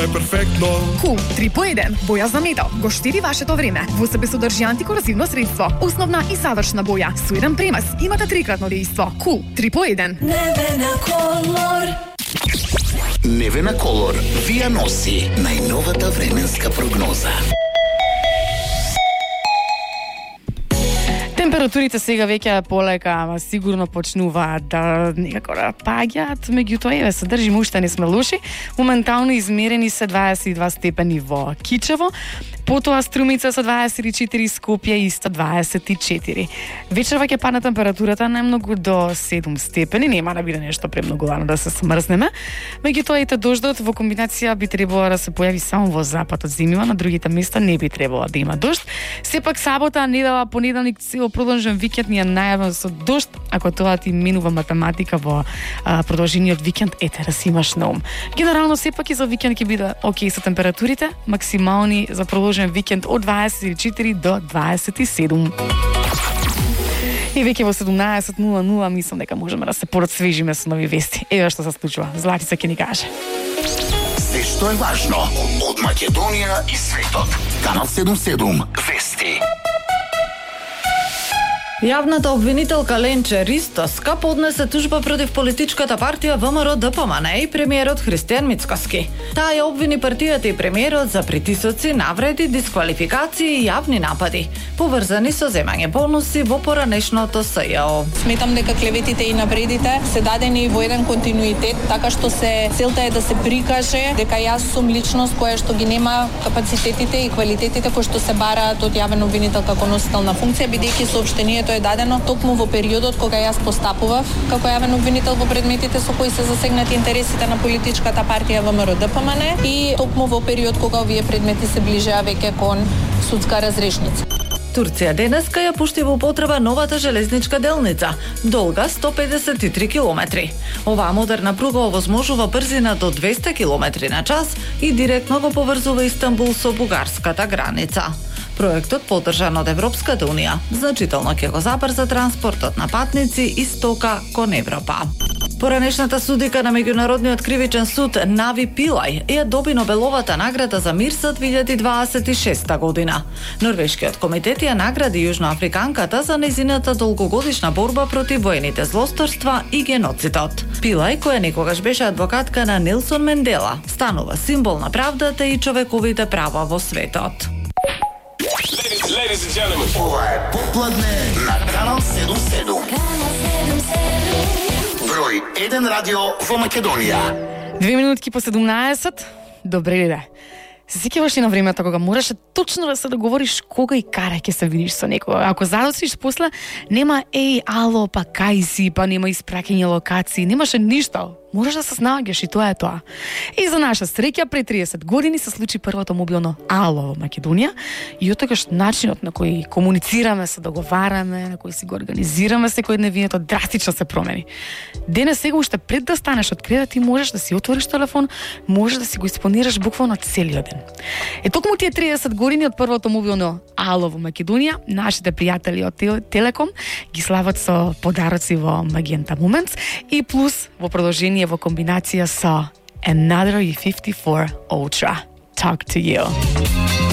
е перфектно. Кул 3 по 1. Боја за метал. Го штеди вашето време. Во себе содржи антикорозивно средство. Основна и завршна боја. Со еден премес имате трикратно дејство. Кул 3 по 1. Невена Колор. Невена Колор ви ја носи најновата временска прогноза. Температурите сега веќе полека, ама сигурно почнуваат да некако да паѓаат, меѓутоа еве се држиме уште не сме лоши. Моментално измерени се 22 степени во Кичево, потоа Струмица со 24, Скопје исто 24. Вечерва ќе падне температурата најмногу до 7 степени, нема да биде нешто премногу рано да се смрзнеме. Меѓутоа ете дождот во комбинација би требало да се појави само во западот зимјава, на другите места не би требало да има дожд. Сепак сабота, недела, понеделник, цел продолжен викенд ни е најавен со дожд. Ако тоа ти минува математика во продолжениот викенд, ете да си имаш на ум. Генерално сепак и за викенд ќе биде окей со температурите, максимални за продолжен викенд од 24 до 27. И веќе во 17:00 мислам дека можеме да се порасвежиме со нови вести. Еве што се случува. Златица ќе ни каже. Се што е важно од Македонија и светот. Канал 77 Вести. Јавната обвинителка Ленче Ристоска поднесе тужба против политичката партија ВМРО-ДПМН и премиерот Христијан Мицкоски. Таа ја обвини партијата и премиерот за притисоци, навреди, дисквалификации и јавни напади, поврзани со земање бонуси во поранешното СЈО. Сметам дека клеветите и навредите се дадени во еден континуитет, така што целта е да се прикаже дека јас сум личност која што ги нема капацитетите и квалитетите кои што се бараат од јавен обвинител како носител на функција, бидејќи соопштението е дадено токму во периодот кога јас постапував како јавен обвинител во предметите со кои се засегнати интересите на политичката партија ВМРО-ДПМН и токму во период кога овие предмети се ближеа веќе кон судска разрешница. Турција денеска ја пушти во употреба новата железничка делница, долга 153 километри. Оваа модерна пруга овозможува брзина до 200 километри на час и директно го поврзува Истанбул со бугарската граница. Проектот, поддржан од Европската Унија, значително ќе го забрза транспортот на патници и стока кон Европа. Поранешната судика на Меѓународниот кривичен суд Нави Пилај ја доби Нобеловата награда за мир за 2026 година. Норвешкиот комитет ја награди јужноафриканката за нејзината долгогодишна борба против воените злосторства и геноцидот. Пилај, која некогаш беше адвокатка на Нелсон Мендела, станува символ на правдата и човековите права во светот. Ladies and gentlemen, ова е Попладне на Канал 77. Број 1 радио во Македонија. 2 минутки по 17. Добре ли да? Се сеќаваш ли на времето кога мораше точно да се договориш кога и каде ќе се видиш со некој? Ако задосиш после, нема ало, па кај си, па нема испраќање локации, немаше ништо. Можеш да се снаоѓаш и тоа е тоа. И за наша среќа пред 30 години се случи првото мобилно ало во Македонија и оттогаш начинот на кој комуницираме, се договараме, на кој си го организираме секојдневието драстично се промени. Денес сега уште пред да станеш од кревет ти можеш да си отвориш телефон, можеш да си го исполнираш буквално целиот ден. Токму тие 30 години од првото мобилно ало во Македонија, нашите пријатели од Телеком ги слават со подароци во Magenta Moments и плюс во продолжение во комбинација со Another E54 Ultra. Talk to you.